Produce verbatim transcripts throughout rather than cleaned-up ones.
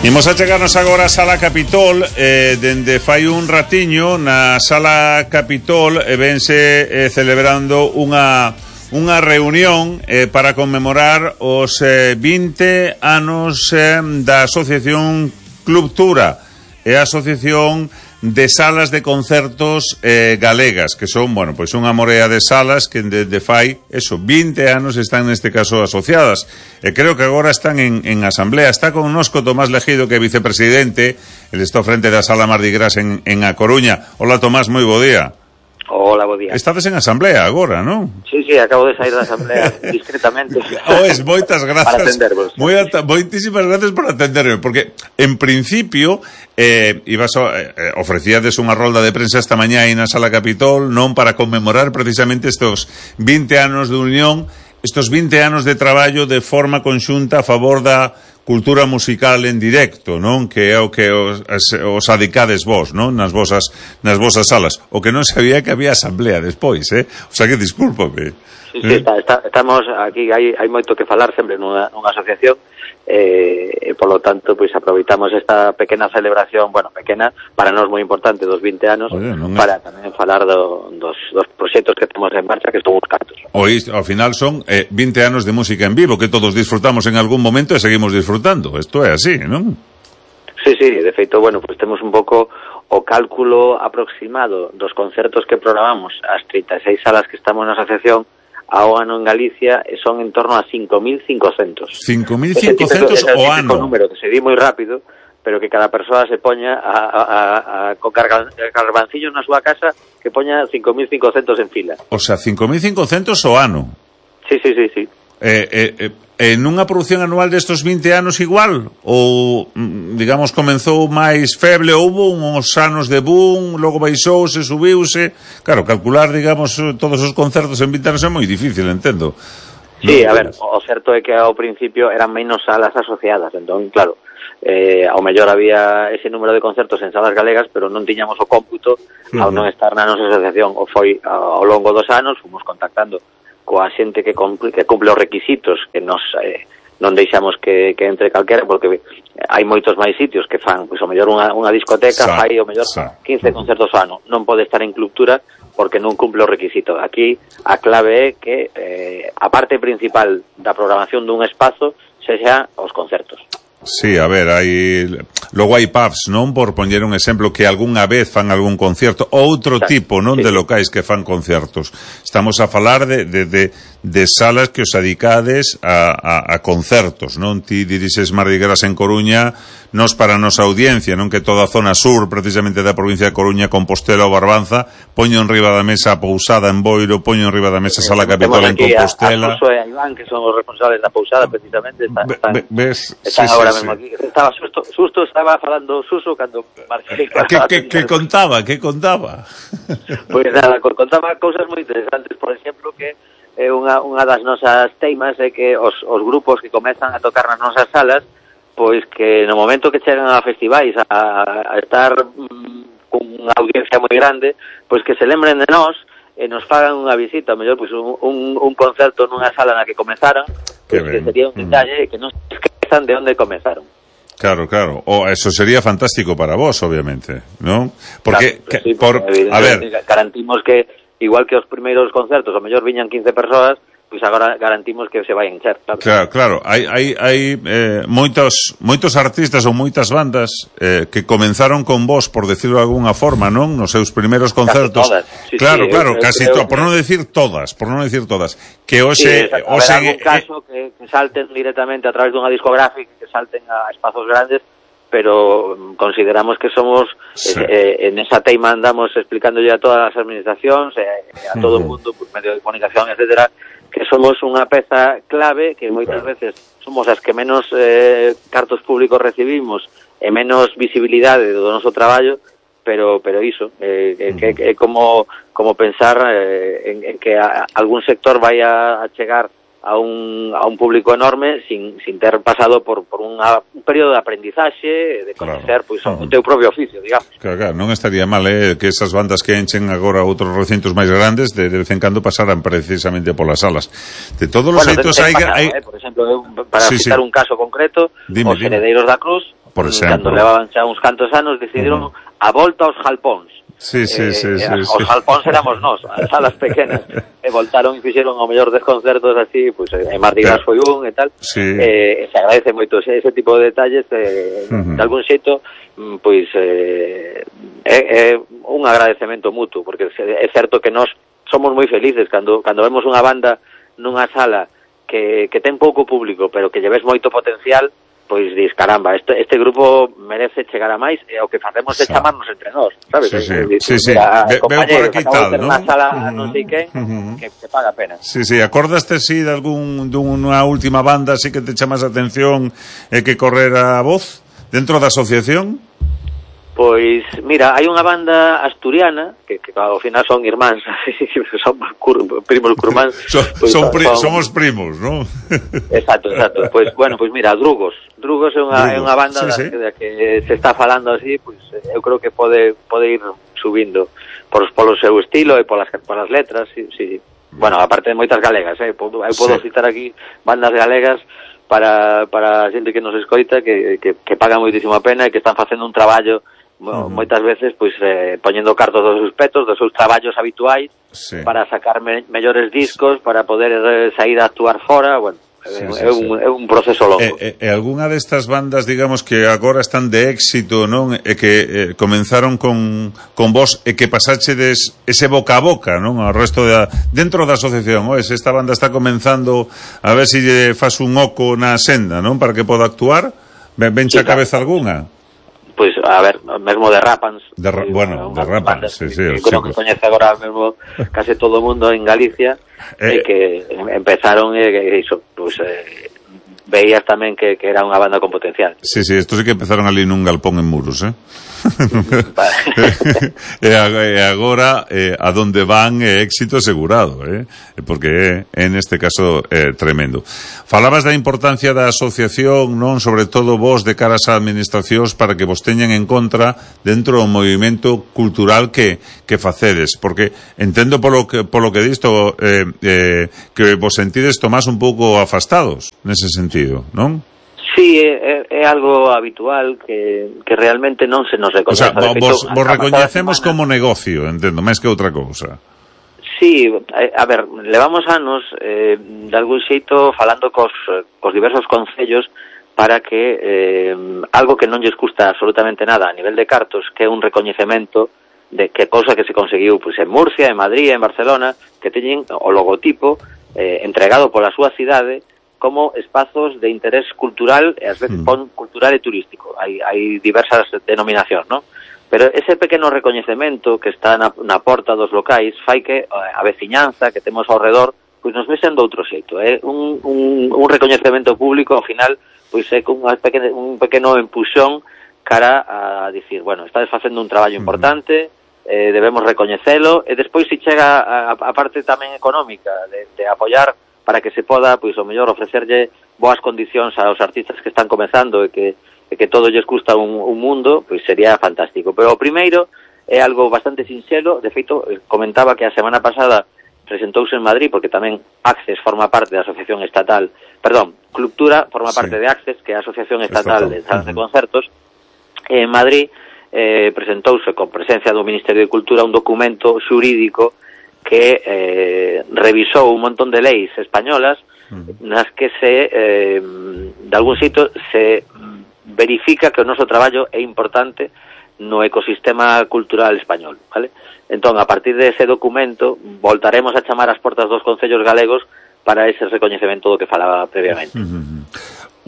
Imos a chegarnos agora a Sala Capitol, eh, dende fai un ratiño na Sala Capitol e vense eh, celebrando unha unha reunión eh, para conmemorar os eh, vinte anos eh, da Asociación Clubtura e a Asociación de Salas de Concertos eh, Galegas, que son, bueno, pois unha morea de salas que desde fai, eso, vinte anos están neste caso asociadas, e creo que agora están en, en asamblea. Está connosco Tomás Legido, que é vicepresidente, ele está frente da Sala Mardi Gras en, en A Coruña. Hola Tomás, moi bo día. Hola, bo día. Estades en asamblea agora, non? Sí, sí, acabo de sair da asamblea discretamente. Pois, moitas grazas. Para atendervos. Moi ata, moitísimas grazas por atenderme, porque en principio eh, ibas a, eh, ofrecíades unha rolda de prensa esta mañá aí na Sala Capitol, non para conmemorar precisamente estes vinte anos de unión, estes vinte anos de traballo de forma conxunta a favor da cultura musical en directo, non? Que é o que os, os adicades vos, non? Nas vosas, nas vosas salas. O que non sabía que había asamblea despois, eh? O sea que discúlpame. Sí, sí, está, está, estamos aquí, hai, hai moito que falar sempre nunha, nunha asociación, eh, e polo tanto, pois aproveitamos esta pequena celebración, bueno, pequena, para nós moi importante, dos vinte anos, Oye, non para é... tamén falar do, dos, dos proxectos que temos en marcha, que son uns cantos. Oís, ao final son eh, vinte anos de música en vivo, que todos disfrutamos en algún momento e seguimos disfrutando. Isto é así, non? Sí, sí, de feito, bueno, pois temos un pouco o cálculo aproximado dos concertos que programamos as trinta e seis salas que estamos na asociación ao ano en Galicia, son en torno a cinco mil cincocentos. cinco mil cincocentos o ano. É un número que se di moi rápido, pero que cada persoa se poña a, a, a, a con carbancillos na súa casa, que poña cinco mil cincocentos en fila. O sea, cinco mil cincocentos o ano. Sí, sí, sí, sí. Eh, eh, eh, en unha produción anual destos vinte anos igual? Ou, digamos, comenzou máis feble, houve uns anos de boom, logo baixouse, subiuse? Claro, calcular, digamos, todos os concertos en vinte anos é moi difícil, entendo. Sí, a ver, o certo é que ao principio eran menos salas asociadas, entón, claro, eh, ao mellor había ese número de concertos en salas galegas, pero non tiñamos o cómputo ao non estar na nosa asociación. O foi ao longo dos anos, fomos contactando coa xente que cumple, que cumple os requisitos, que nos eh, non deixamos que, que entre calquera, porque hai moitos máis sitios que fan, pois o mellor unha, unha discoteca sa, fai o mellor sa. quince concertos ao ano, non pode estar en Clubtura porque non cumple os requisitos. Aquí a clave é que eh, a parte principal da programación dun espazo sexa os concertos. Sí, a ver, hai logo hai pubs, non? Por poñer un exemplo, que algunha vez fan algún concierto, outro Exacto. tipo, non? Sí. De locais que fan concertos. Estamos a falar de, de, de, de salas que os adicades a, a, a concertos, non? Ti dirixes Mardi Gras en Coruña, nos para a nosa audiencia, non? Que toda a zona sur, precisamente da provincia de Coruña, Compostela ou Barbanza, poño en riba da mesa a Pousada en Boiro, poño en riba da mesa Sala Capitol en Compostela. A, a Suso e a Iván, que son os responsables da Pousada, precisamente, están, están, ves, están sí, agora sí, mesmo sí. aquí. Estaba susto, susto estaba falando Suso cando marchei. Que, que, que contaba, que contaba? Pois pues nada, contaba cousas moi interesantes, por exemplo, que é unha, unha das nosas teimas é que os, os grupos que comezan a tocar nas nosas salas, pois que no momento que chegan a festivais a, a estar mm, con unha audiencia moi grande, pois que se lembren de nós e nos fagan unha visita, mellor pois un, un, un concerto nunha sala na que comenzaron, pois que sería un detalle que non se esquezan de onde comenzaron. Claro, claro. O eso sería fantástico para vos, obviamente, ¿no? Porque, claro, que, sí, por, a ver, garantimos que igual que os primeiros concertos, ao mellor viñan quince persoas, pois agora garantimos que se vai encher, claro. Claro, claro, hai hai hai eh, moitos moitos artistas ou moitas bandas eh, que comenzaron con vos, por decirlo de alguna forma, non? Nos seus primeiros concertos. Casi todas. Sí, claro, sí, claro, eu, casi eu, todas, por non decir todas, por non decir todas. Que hoxe sí, hoxe algún caso que, que salten directamente a través dunha discográfica, que salten a espazos grandes, pero consideramos que somos sí. eh, en esa teima andamos explicándolle a todas as administracións, eh, a todo o mundo, por medio de comunicación, etcétera, que somos unha peza clave, que moitas claro. veces somos as que menos eh, cartos públicos recibimos e menos visibilidade do noso traballo, pero pero iso, eh, uh-huh. que é como como pensar eh, en, en que a, algún sector vai a, a chegar a un, a un público enorme sin, sin ter pasado por, por unha, un período de aprendizaxe, de conocer claro. pois, o teu propio oficio, digamos. Claro, claro, non estaría mal eh, que esas bandas que enchen agora outros recintos máis grandes de, de vez en cando pasaran precisamente polas salas. De todos os bueno, xeitos hai... Pasado, hai... Eh, por exemplo, para sí, citar sí. un caso concreto, dime, os dime. Heredeiros da Cruz, por exemplo. Cando levaban xa uns cantos anos, decidiron uh-huh. a volta aos jalpóns. Sí, sí, eh, sí, sí, os sí. jalpóns éramos nós, as salas pequenas, e voltaron e fixeron o mellor des concertos así, pois pues, en Mardi Gras foi un e tal, sí. eh, se agradece moito ese, ese tipo de detalles, eh, uh-huh. de algún xeito, pois eh, é, é un agradecemento mutuo, porque é certo que nós somos moi felices cando, cando vemos unha banda nunha sala que, que ten pouco público, pero que lle ves moito potencial, pois dis, caramba, este, este grupo merece chegar a máis, e o que facemos é chamarnos entre nós, sabes? Sí, sí, Diz, sí, sí. Ve, veo por aquí tal, ¿no? Unha sala uh-huh. non sei quen, uh-huh. que, que paga pena. Sí, sí, acordaste si de algún dunha última banda así que te chamas a atención e que correra a voz dentro da asociación? Pois, mira, hai unha banda asturiana, que, que ao final son irmáns, son cur, primos curmáns. son, pues, son pri, son, somos primos, ¿no? Exacto, exacto. Pois, pues, bueno, pois pues mira, Drugos. Drugos é unha, Drugos. É unha banda sí, sí. Da, da que se está falando así, pois pues, eu creo que pode pode ir subindo por, polo seu estilo e polas, polas letras, sí, sí. Bueno, aparte de moitas galegas, eh? eu podo sí. citar aquí bandas galegas para, para a xente que nos escoita, que, que, que paga moitísimo a pena e que están facendo un traballo Uh-huh. moitas veces pois eh, poñendo cartos dos seus petos, dos seus traballos habituais sí. para sacar me, mellores discos, para poder eh, sair a actuar fora, bueno, sí, é, sí, é, un, sí. é un proceso longo. E, e, e algunha destas bandas, digamos, que agora están de éxito, non? E que eh, comenzaron con, con vos e que pasáchedes ese boca a boca, non? Ao resto da, dentro da asociación, oes, esta banda está comenzando a ver se si faz un oco na senda, non? Para que poda actuar, venche sí, a cabeza claro. algunha? Pois, pues, a ver, mesmo de Rapans. De ra- bueno, de Rapans, sí, sí. Que creo que coñece agora mesmo case todo o mundo en Galicia, eh, e que empezaron, e eh, iso, pois, pues, eh, veías tamén que, que era unha banda con potencial. Sí, sí, estos sí que empezaron ali nun galpón en Muros, eh? e agora eh, a donde van é éxito asegurado, eh? Porque é, en este caso é tremendo. Falabas da importancia da asociación, non? Sobre todo vos de caras a administracións para que vos teñan en contra dentro do movimento cultural que, que facedes, porque entendo polo que, polo que disto eh, eh, que vos sentides tomás un pouco afastados nese sentido, non? Sí, é, é algo habitual que, que realmente non se nos recoñece. O sea, vos, vos recoñecemos como negocio, entendo, máis que outra cousa. Sí, a ver, levamos anos eh, de algún xeito falando cos, cos diversos concellos para que eh, algo que non lles custa absolutamente nada a nivel de cartos, que é un recoñecemento de que cousa que se conseguiu pues, en Murcia, en Madrid, en Barcelona, que teñen o logotipo eh, entregado pola súa cidade como espazos de interés cultural e ás veces pon cultural e turístico. Hai, hai diversas denominacións, non? Pero ese pequeno recoñecemento que está na, na porta dos locais fai que a veciñanza que temos ao redor pois nos vexan de outro xeito. É un, un, un recoñecemento público, ao final, pois é un pequeno, un pequeno empuxón cara a dicir, bueno, estades facendo un traballo importante, eh, debemos recoñecelo, e despois se chega a, a parte tamén económica de, de apoiar para que se poda, pois, o mellor, ofrecerlle boas condicións aos artistas que están comezando e que, e que todo lles custa un, un mundo, pois sería fantástico. Pero o primeiro é algo bastante sinxelo. De feito, comentaba que a semana pasada presentouse en Madrid, porque tamén Access forma parte da Asociación Estatal, perdón, Cultura forma parte sí. de Access, que é a Asociación Estatal, Estatal. de Salas uh-huh. de Concertos, e en Madrid eh, presentouse con presencia do Ministerio de Cultura un documento xurídico que eh, revisou un montón de leis españolas uh-huh. nas que se eh, de algún xeito se verifica que o noso traballo é importante no ecosistema cultural español, vale? Entón, a partir de ese documento voltaremos a chamar as portas dos concellos galegos para ese recoñecemento do que falaba previamente. Uh-huh.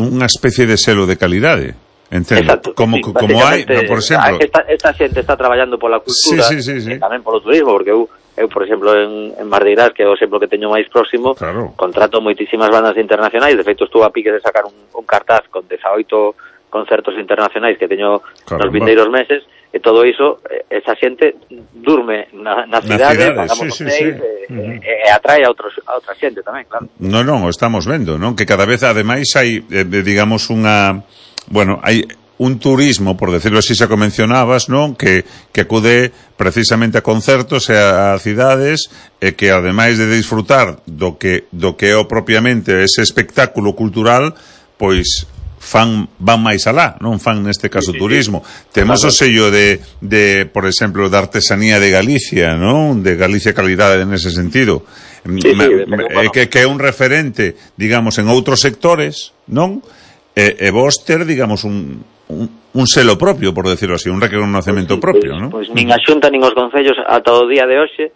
Unha especie de selo de calidade. Entendo. Exacto, como, sí, como hai, no, por exemplo, esta, esta xente está traballando pola cultura, sí, sí, sí, sí. e tamén polo turismo, porque eu, eu por exemplo, en, en Mardi Gras, que é o exemplo que teño máis próximo, claro. contrato moitísimas bandas internacionais. De feito, estuve a pique de sacar un, un cartaz con dezaoito concertos internacionais que teño claro, nos vindeiros meses, e todo iso, esa xente durme na, na cidade, na cidade, pagamos sí, sí, hotéis, sí. e, Uh-huh. e, e atrae a, outros, a outra xente tamén, claro. Non, non, o estamos vendo, non? Que cada vez, ademais, hai, eh, digamos, unha... Bueno, hai un turismo, por decirlo así, xa que mencionabas, non? Que, que acude precisamente a concertos e a, a cidades, e que, ademais de disfrutar do que, do que é o propiamente ese espectáculo cultural, pois fan van máis alá, non fan neste caso sí, turismo. Sí. Temos claro. O sello de, de, por exemplo, da artesanía de Galicia, non? De Galicia calidade nese sentido. Sí, me, sí, me, bueno. que, que é un referente, digamos, en outros sectores, non? E, e vos ter, digamos, un, un, un selo propio, por decirlo así, un reconocemento pues, propio, pues, non? Pois pues, nin a Xunta nin os concellos ata o día de hoxe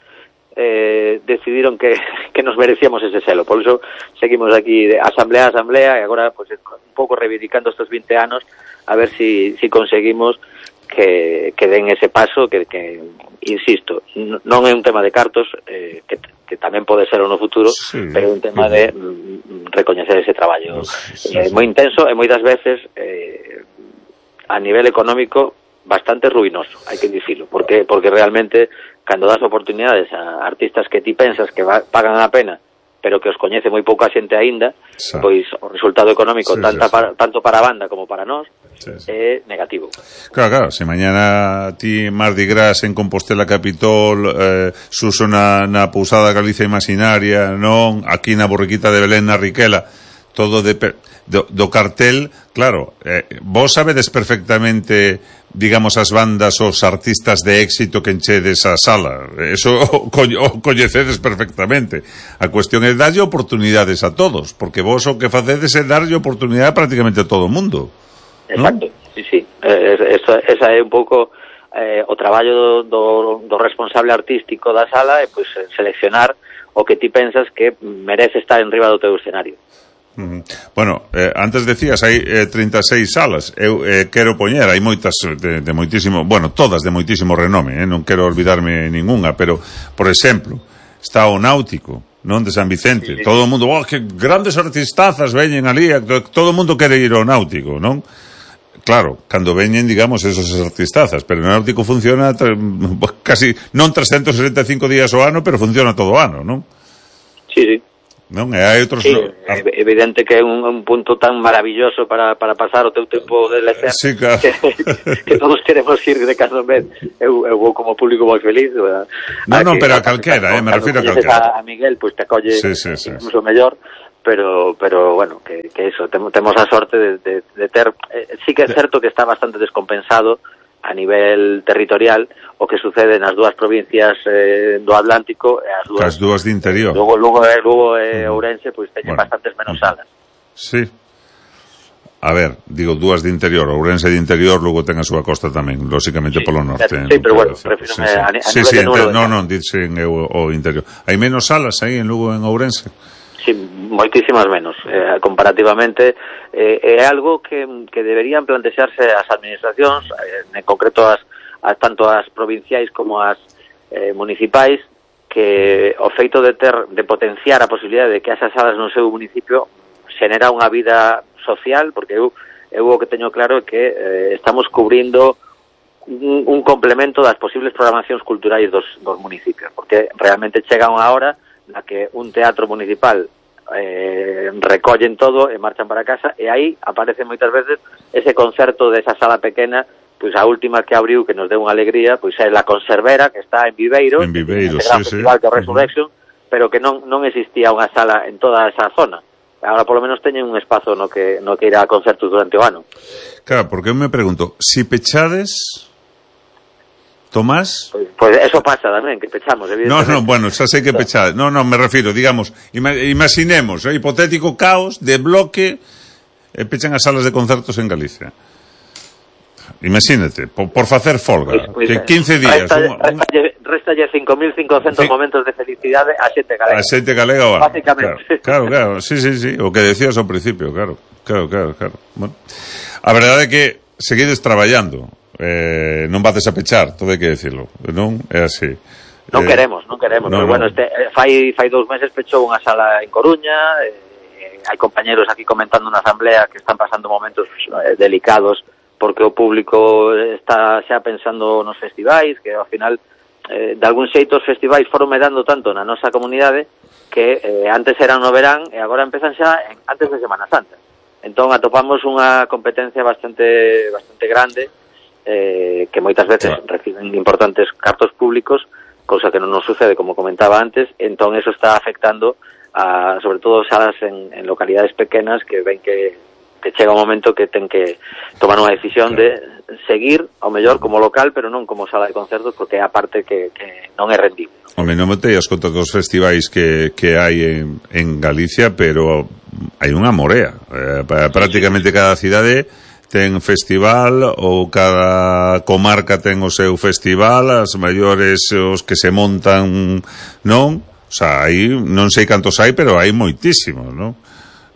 Eh, decidiron que, que nos merecíamos ese selo, por eso seguimos aquí de asamblea a asamblea e agora pues, un pouco reivindicando estos vinte anos a ver si, si conseguimos que, que den ese paso que, que insisto, non é un tema de cartos eh, que, que tamén pode ser no futuro sí, pero é un tema de mm, recoñecer ese traballo sí, sí, eh, moi intenso e moitas veces eh, a nivel económico bastante ruinoso, hai que dicilo, porque, porque realmente cando das oportunidades a artistas que ti pensas que va, pagan a pena, pero que os coñece moi pouca xente aínda, sí. Pois o resultado económico sí, tanta sí, sí. Para, tanto para a banda como para nós sí, sí. É negativo. Claro, claro, se mañana ti Mardi Gras en Compostela Capitol, eh, Suso na, na Pousada Galicia Imaginaria, non, aquí na Borriquita de Belén na Riquela, todo de, do, do cartel, claro, eh, vos sabedes perfectamente, digamos, as bandas, os artistas de éxito que enchedes a sala, eso o, o coñecedes perfectamente. A cuestión é darlle oportunidades a todos, porque vos o que facedes é darlle oportunidade prácticamente a todo o mundo. Exacto, ¿no? Sí, sí, eh, esa, esa é un pouco eh, o traballo do, do, do responsable artístico da sala, é pois seleccionar o que ti pensas que merece estar en riba do teu escenario. Uh-huh. Bueno, eh, antes decías hai eh, treinta e seis salas. Eu eh, quero poñer, hai moitas de, de moitísimo, bueno, todas de moitísimo renome, eh? Non quero olvidarme ningunha, pero por exemplo, está o Náutico, non, de San Vicente. Sí, sí. Todo o mundo, oh, que grandes artistazas veñen ali, todo o mundo quere ir ao Náutico, non? Claro, cando veñen, digamos, esos artistazas, pero o Náutico funciona casi non trescentos sesenta e cinco días ao ano, pero funciona todo o ano, non? Sí, sí. Non, e hai outros... Sí, é evidente que é un, un punto tan maravilloso para, para pasar o teu tempo de lecer sí, claro. que, que todos queremos ir de cando en vez. Eu, eu vou como público moi feliz. No, non, pero a calquera, eh, me refiro a calquera. A Miguel, pois pues, te acolle sí, sí, sí. incluso mellor, pero pero bueno, que, que eso, temos, temos a sorte de, de, de ter... Eh, sí que é certo que está bastante descompensado a nivel territorial o que sucede nas dúas provincias eh, do Atlántico e as dúas, as dúas de interior. Lugo, Lugo, Lugo e Ourense pois teñen bueno. bastantes menos salas. Sí. A ver, digo dúas de interior, Ourense de interior, Lugo ten a súa costa tamén, lóxicamente sí, polo norte. Sí, pero bueno, prefiro sí, sí. a, a sí, nivel sí, de número. No, non, dicen o, o interior. Hai menos salas aí en Lugo en Ourense? Sí, moitísimas menos, eh, comparativamente eh, é algo que, que deberían plantexarse as administracións, eh, en concreto as, as tanto as provinciais como as eh, municipais, que o feito de ter de potenciar a posibilidade de que esas salas no seu municipio xenera unha vida social, porque eu, eu o que teño claro é que eh, estamos cubrindo un, un complemento das posibles programacións culturais dos, dos municipios, porque realmente chega unha hora na que un teatro municipal eh, recollen todo e marchan para casa, e aí aparece moitas veces ese concerto desa sala pequena, pois a última que abriu, que nos deu unha alegría, pois é la Conservera, que está en Viveiro, en Viveiro, sí, gran sí, festival sí. que é Resurrection, uh-huh. pero que non non existía unha sala en toda esa zona. Agora polo menos teñen un espazo no que no que ir a concertos durante o ano. Claro, porque eu me pregunto, si pechades Tomás? Pois, pois eso pasa tamén, que pechamos, evidentemente. No, no, bueno, xa sei que pechades. No, no, me refiro, digamos, ima, imaginemos, eh, hipotético caos de bloque e eh, pechan as salas de concertos en Galicia. Imagínate, por, por facer folga, pues, pues, que quince días... Réstalle cinco mil cincocentos sí. momentos de felicidade a xente galega. A xente galega, bueno, básicamente. Claro, claro, claro, sí, sí, sí, o que decías ao principio, claro, claro, claro, claro. Bueno, a verdade é que seguides traballando, eh, non vades a pechar, todo hai que decirlo, non? É así. Non eh, queremos, non queremos, no, pero bueno, este, fai, fai dous meses pechou unha sala en Coruña, eh, hai compañeros aquí comentando na asamblea que están pasando momentos eh, delicados porque o público está xa pensando nos festivais, que ao final, eh, de algún xeito os festivais foron medando tanto na nosa comunidade que eh, antes eran no verán e agora empezan xa en, antes de Semana Santa. Entón atopamos unha competencia bastante bastante grande, eh, que moitas veces claro. reciben importantes cartos públicos, cousa que non nos sucede, como comentaba antes, entón eso está afectando a, sobre todo, salas en, en localidades pequenas que ven que que chega un momento que ten que tomar unha decisión claro. de seguir ao mellor como local, pero non como sala de concertos, porque é a parte que, que non é rendible. Home, non me teías conta dos festivais que, que hai en, en Galicia, pero hai unha morea. Eh, prácticamente cada cidade ten festival, ou cada comarca ten o seu festival, as maiores os que se montan, non? O sea, aí non sei cantos hai, pero hai moitísimos, non?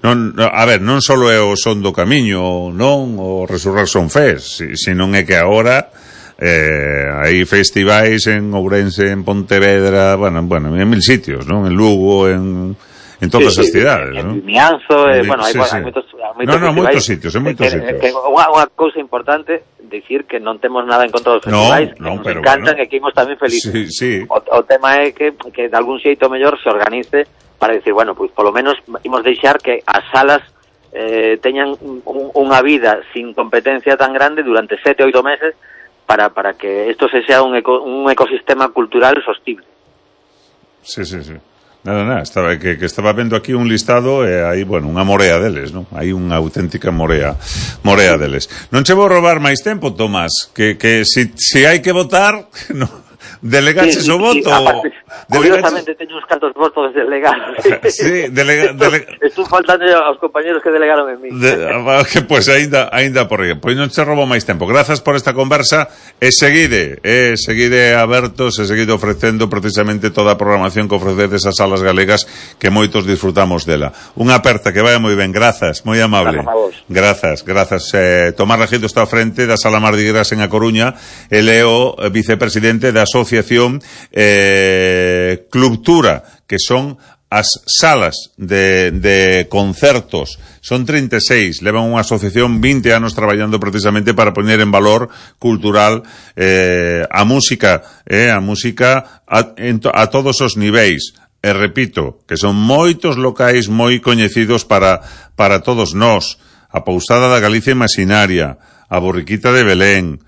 Non, a ver, non só é o Son do Camiño, non? O Resurrection Fest, senón é que agora eh, hai festivais en Ourense, en Pontevedra, bueno, bueno, en mil sitios, non? En Lugo, en... en todas sí, as cidades, sí, non? En Mianzo, eh, bueno, hai, sí, sí. hai moitos, moitos no, no, moitos sitios, en moitos que, sitios. Que, unha, unha cousa importante, dicir que non temos nada en contra dos festivais, no, no, que nos pero encantan bueno. E que imos tamén felices. Sí, sí. O, o tema é que, que de algún xeito mellor se organice para decir, bueno, pois pues, polo menos imos deixar que as salas eh, teñan un, unha vida sin competencia tan grande durante sete, oito meses para, para que isto se sea un, eco, un ecosistema cultural sostible. Sí, sí, sí. Nada, nada, estaba, que, que estaba vendo aquí un listado e hai, bueno, unha morea deles, non? Hai unha auténtica morea morea deles. Non che vou robar máis tempo, Tomás, que, que si, si hai que votar, no, delegaches sí, sí, o voto. Sí, aparte, curiosamente teño uns cantos votos delegados. Sí, delega, delega... Estou faltando aos compañeros que delegaron en mí. De, que pois pues, aínda aínda por aí. Pois non che robo máis tempo. Grazas por esta conversa e seguide, e seguide abertos e seguide ofrecendo precisamente toda a programación que ofrecedes as salas galegas que moitos disfrutamos dela. Unha aperta que vai moi ben. Grazas, moi amable. Grazas, grazas. Eh, Tomás Regildo está ao frente da Sala Mardi Gras en A Coruña. El é o vicepresidente da Asociación eh, Clubtura, que son as salas de, de concertos. Son treinta e seis, levan unha asociación vinte anos traballando precisamente para poñer en valor cultural eh, a música, eh, a música a, en to, a todos os niveis. E repito, que son moitos locais moi coñecidos para, para todos nós. A Pousada da Galicia Imaxinaria, a Borriquita de Belén,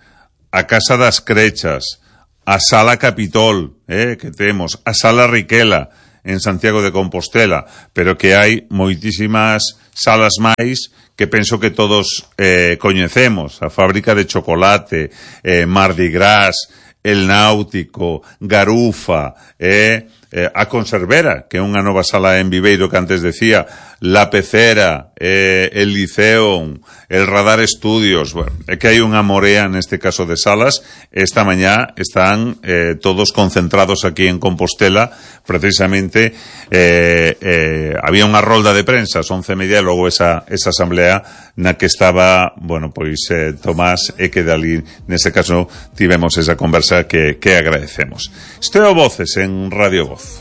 a Casa das Crechas, a Sala Capitol, eh, que temos, a Sala Riquela, en Santiago de Compostela, pero que hai moitísimas salas máis que penso que todos eh, coñecemos. A Fábrica de Chocolate, eh, Mardi Gras, El Náutico, Garufa, eh, eh, a Conservera, que é unha nova sala en Viveiro que antes decía, La Pecera, eh, el Liceum, el Radar Estudios. Bueno, é que hai unha morea neste caso de salas. Esta mañá están eh, todos concentrados aquí en Compostela, precisamente eh, eh, había unha rolda de prensa ás once e media e logo esa, esa asamblea na que estaba, bueno, pois eh, Tomás e que dali, nese caso, tivemos esa conversa que, que agradecemos. Isto é o Voces en Radio Voz.